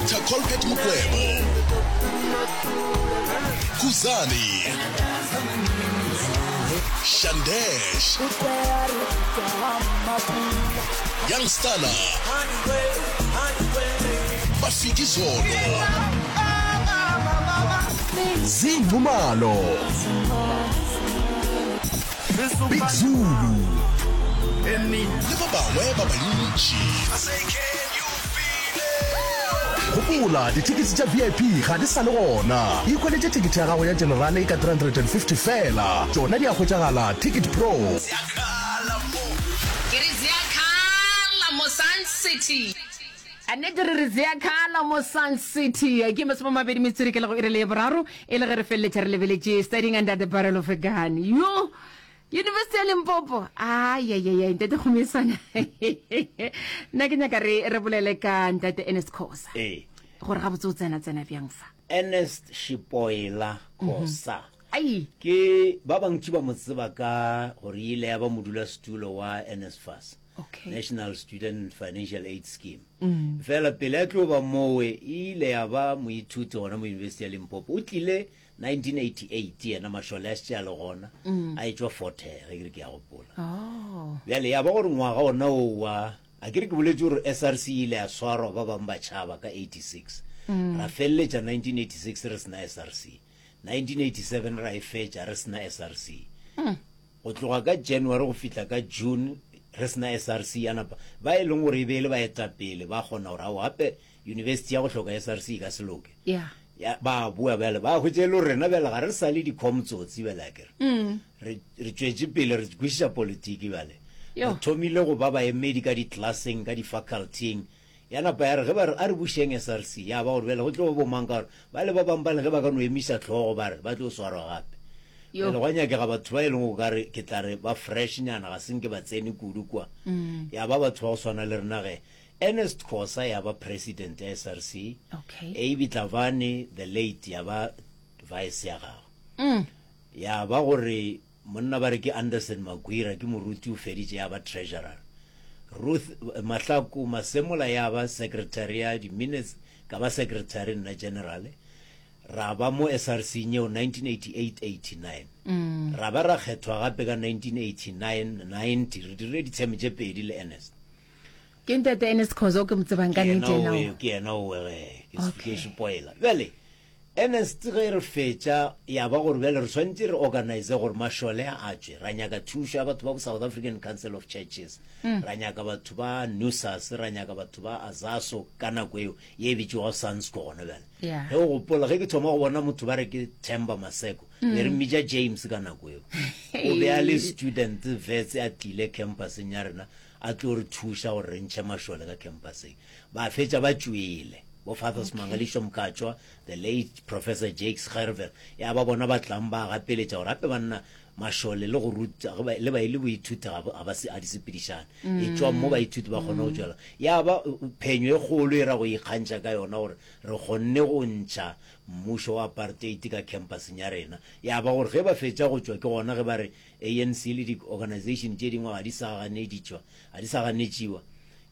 Doctor Colbert Mukwevho, Khuzani, Shandesh, Young Stunna, Mafikizolo, Zee Nxumalo, Big Zulu le ba bangwe ba bantši. Gopola, dithekisi tša VIP ga di sa le gona. Ikhweletše thekethe ya gago ya Generale ka 350 feela. Tšona di a hwetšagala Ticket Pro. Ke re Ziakhala mo Sun City. A nnete re re Ziakhala mo Sun City. Ke masomamabedi metswedi ke lego iri le ye boraro e le ge re feleletša re lebeletše Studying Under the Barrel of a Gun. Yo! University ya Limpopo. Ayayaya ntate Kgomesana. Nna ke nyaka re re bolele ka ntate Ernest Khoza. Ee. Gore gabotse o tsena tsena bjang fa. Ernest Shipoela Khoza. Ai. Ke ba bantši ba mo tseba ka gore e ile ya ba modulasetulo wa NSFAS. Okay. National Student Financial Aid Scheme. Fela pele a tlo ba mowe e ile ya ba moithuti gona mo University ya Limpopo. O tlile 1988 yena mašole a šetše a le gona a etšwa Fort Hare ge ke re ke a gopola. Oh. Bjale ya ba gore ngwaga ona oo wa a ke re ke boletše gore SRC e ile ya swarwa ba bangwe ba tšhaba ka 86. Ra feleletša 1986 re se na SRC. 1987 ra e fetša re se na SRC. Go tloga ka January go fihla ka June re se na SRC ya napa ba e leng gore e be e le baetapele ba kgona gore ao gape university ya go hloka SRC e ka se loke. Yeah. Ya, ba boa bjale ba hwetša e le gore rena bjale ga re sa le di-com-tsotsi bjale akere. Re, re tšwetše pele re kwešiša politiki bjale. Yo. Re thomile go ba baemedi ka di-classeng, ka di-faculty-ing. Ya napa ya re ge ba re a re bušeng SRC, ya ba gore bjale go tlo ba bomang ka gore bale ba bangwe bale ge ba ka no emiša hlogo ba re ba tlo swarwa gape. Yo. Bjale gwa nyakega batho ba e leng go ka re ke tla re ba fresh nyana ga se nke ba tsene kudu kwa. Ya ba batho ba go swana le rena ge. Ernest Khosa ya ba president ya SRC, Okay. Abie Tlavane the late ya ba vice ya gagwe. Ya ba gore Monna ba re ke Anderson Magwira, ke moruti o feditše ya ba treasurer. Ruth Mahlaku Masemola ya ba secretary ya di-minutes, ka ba secretary nna general. Ra ba mo SRC yeo 1988-89. Ra ba ra kgethwa gape ka 1989-90, re dirile ditsheme tše pedi le Ernest. Ke ntate Ernest Khoza o ke mo tsebang ka Ke yena nnete yena owe, o. ke yena owe ge, ke Okay. ke spoiler. Bjale, Ernest ge re fetša ya ba gore bjale re swanetše re organise gore mašole a a tšwe, ra nyaka thušo ya batho ba bo South African Council of Churches, ra nyaka batho ba NUSAS, ra nyaka batho ba AZASO ka nako eo ye e bitšwago SANSCO gona bjale. Yeah. Ge o gopola ge ke thoma go bona motho ba re ke Themba Maseko, be re mmitša James ka nako eo. O be a le student vets a tlile campuseng ya rena a tlo re thuša gore re ntšhe mašole ka campuseng. Ba fetša ba tšwele. Bo Father Smangaliso Mkatshwa, the late Professor Jakes Gerwel, ya ba bona ba tlang ba gapeletša gore gape banna mašole le go ruta ge ba, le ba e le boithuti ga ba, ga ba se, ga di sepedišane. Etšwang mo baithuti ba kgone go tšwela. Ya ba phenyo e kgolo e ra go ikgantšha ka yona gore re kgonne go ntšha mmušo wa apartheid ka campuseng ya rena. Ya ba gore ge ba fetša go tšwa ke gona ge ba re ANC le di-organization tše dingwe ga di sa ganeditšwa, ga di sa ganetšiwa.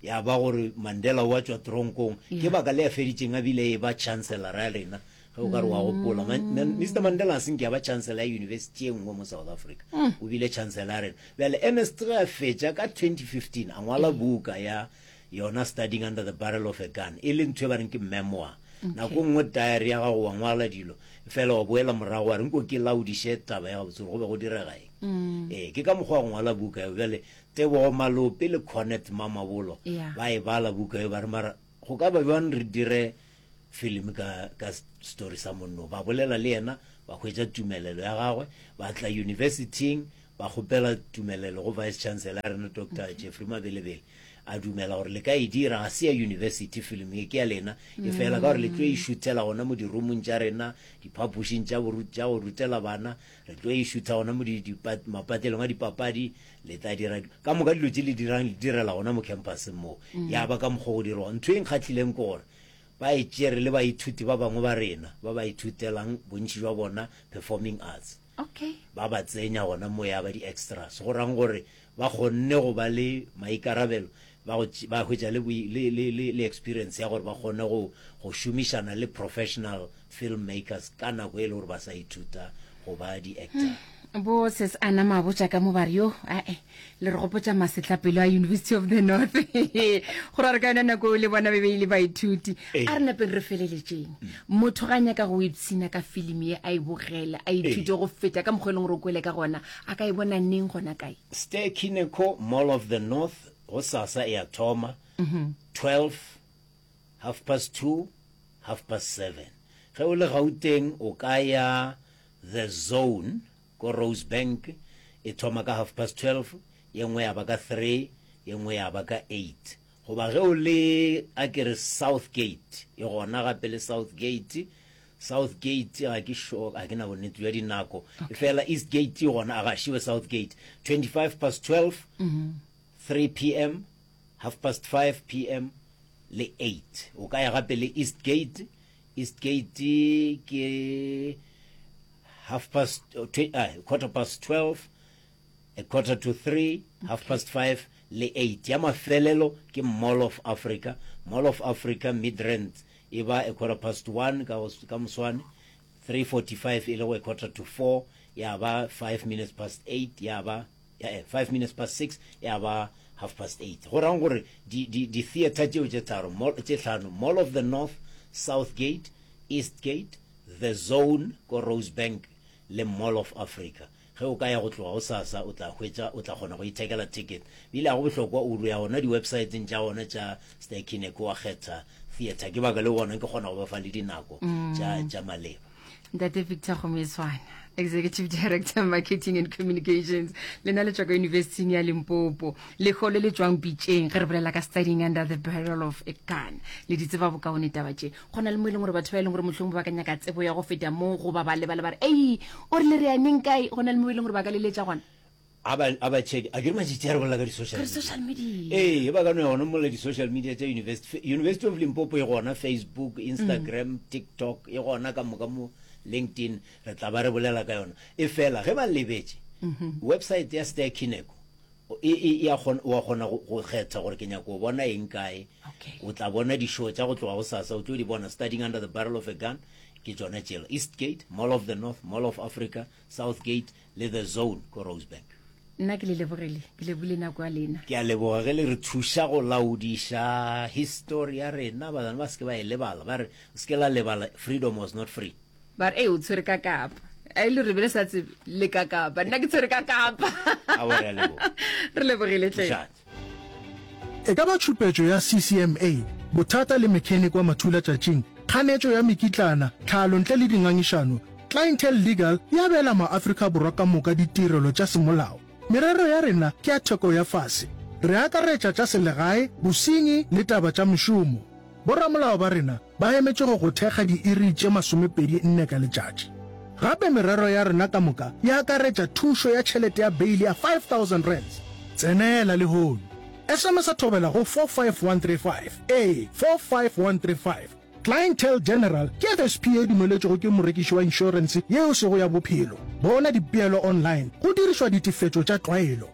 Ya ba gore Mandela o a tšwa tronkong. Ke baka le a feditšeng a bile e ba chancellor ya rena, ge o ka re wa gopola. Mister Mandela a se nke a ba chancellor ya university e nngwe mo South Africa. O bile chancellor ya rena. Bjale Ernest ge a fetša ka 2015 a ngwala buka ya yona Studying Under the Barrel of a Gun, e le ntho e ba reng ke memoir. Nako e nngwe diary ya gago wa ngwala dilo, fela wa boela morago wa re nko ke laodiše taba ya gabotse gore go be go direga eng. Ee, ke ka mokgwa wa go ngwala buka eo. Bjale Tebogo Malope le Cornet Mamabolo Yeah. ba e bala buka eo ba re mara go ka ba bjang re dire filimi ka ka story sa monno. Ba bolela le yena ba hwetša tumelelo ya gagwe ba tla universityng ba kgopela tumelelo go vice chancellor ya rena Doctor Jeffrey Mabelebele a dumela gore le ka e dira ga se ya university filimi e ke ya lena e fela ka gore le tlo e šuthela gona mo dirumong tša rena diphapošing tša tša go rutela bana re tlo e šutha gona mo mapatlelong a dipapadi Le tla dira ka moka dilo tše le dirang, le direla gona mo campuseng moo. Ya ba ka mokgwa go dirwa. Ntho e nkgahlileng ke gore ba e tšere le baithuti ba bangwe ba rena ba ba ithutelang bontši jwa bona performing arts. Okay. Ba ba tsenya gona mo ya ba di-extras. Go rang gore ba kgonne go ba le maikarabelo. Ba go ba hwetša le, le, le, le, le experience ya gore ba kgone go, go šomišana le professional film makers ka nako e le gore ba sa ithuta go ba di-actor. Bo sis Anna Mabotja ka mo ba re yo ae le re gopotša masetlapelo a University of the North go ra re ka yona nako le bona be be ile baithuti a re napeng re feleletšeng motho ga nyaka go ipshina ka filimi ye a e bogele a ithute go feta ka mokgwa e leng gore o kwele ka gona a ka e bona neng gona kae Ster Kinekor Mall of the North gosasa e a thoma 12 half past 2 half past 7 ge o le Gauteng o ka ya The Zone ko Rosebank e thoma ka half past 12, ye nngwe ya ba ka 3, ye nngwe ya ba ka 8. Goba ge o le a ke re South Gate, e gona gape le South Gate. South Gate ga ke sure, ga ke na bonnete bja dinako. Okay. Fela East Gate e gona, a ga šiwe South Gate. 25 past 12, mm -hmm. 3 pm, half past 5 pm le 8. O ka ya gape le East Gate Eastgate ke half past uh, quarter past 12 a quarter to 3 half past 5 le 8 ya mafelelo ke Mall of Africa. Mall of Africa Midrand e ba a quarter past 1 ka, ka moswane 3:45 e le go a quarter to 4 ya ba 5 minutes past 8 ya ba ya eh, 5 minutes past 6 ya ba half past 8. Go rang gore di di di theater tšeo tše tharo mall tše hlano Mall of the North, South Gate, East Gate, The Zone ko Rosebank le Mall of Africa. Ge o ka ya go tloga gosasa o tla hwetša o tla kgona go ithekela ticket. Bile ga go bohlokwa o ya gona di-websiteng tša gona tša Ster-Kinekor wa kgetha theater. Ke baka leo gona ke kgona go ba fa le dinako tša tša maleba. Ntate Victor Gomezwana, Executive Director Marketing and Communications, lena le tšwa ka University ya Limpopo. Leho le le tšwang pitšeng ge re bolela ka studying under the barrel of a gun. Le di tseba bokaone taba tše. Go na le mo e leng gore batho ba e leng gore mohlomongwe ba ka nyaka tsebo ya go feta mo goba ba lebala ba re, "Ei, o rile re ya neng kae?" Go na le mo e leng gore ba ka leletša gona. A ba a ba check a ke re matšatši a re bolela ka di-social Ka social media. Ee, ba ka no ya gona mola di-social media tša university University of Limpopo e gona Facebook, Instagram, mm. TikTok e gona ka moka mo LinkedIn re tla ba re bolela ka yona e fela ge ba lebetše mm -hmm. website ya Ster Kineko e, e, e a kgona wa kgona go kgetha gore ke nyaka go bona eng kae okay. o tla bona di-show tša go tloga go sasa o tlo di bona studying under the barrel of a gun ke tšona tšela Eastgate Mall of the North Mall of Africa Southgate le The Zone ko Rosebank. Nna ke le lebogile, ke lebogile nako ya lena. Ke a leboga ge le re thuša go laodiša histori ya rena, bana ba se ke ba e lebala, ba re se ke la lebala freedom was not free. Ba re, Ee, o tshwere ka kapa. A e le re be le sa tsebe le ka kapa. Nna ke tshwere ka kapa. Aowa, re a leboga. Re lebogile hle. Mošate. E ka ba tšhupetšo ya CCMA, bothata le mechanic wa mathulatšatšing, kganetšo ya mekitlana, tlhalo ntle le dingangišano, Clientele Legal e abela maAfrika Borwa ka moka ditirelo tša semolao. Merero ya rena ke ya theko ya fase. Re akaretša tša selegae, bosenyi le taba tša mešomo. Boramolao ba rena ba emetše go go thekga diiri tše 24 ka letšatši. Gape merero ya rena ka moka e akaretša thušo ya tšhelete ya beili ya R5000. Tsenela lehono. SMS-a Thobela go 45135. Ee, 45135. Clientele General ke FSP ye e dumeletšwego ke morekiši wa inšorense ye e sego ya bophelo. Bona dipeelo online go dirišwa ditefetšo tša tlwaelo.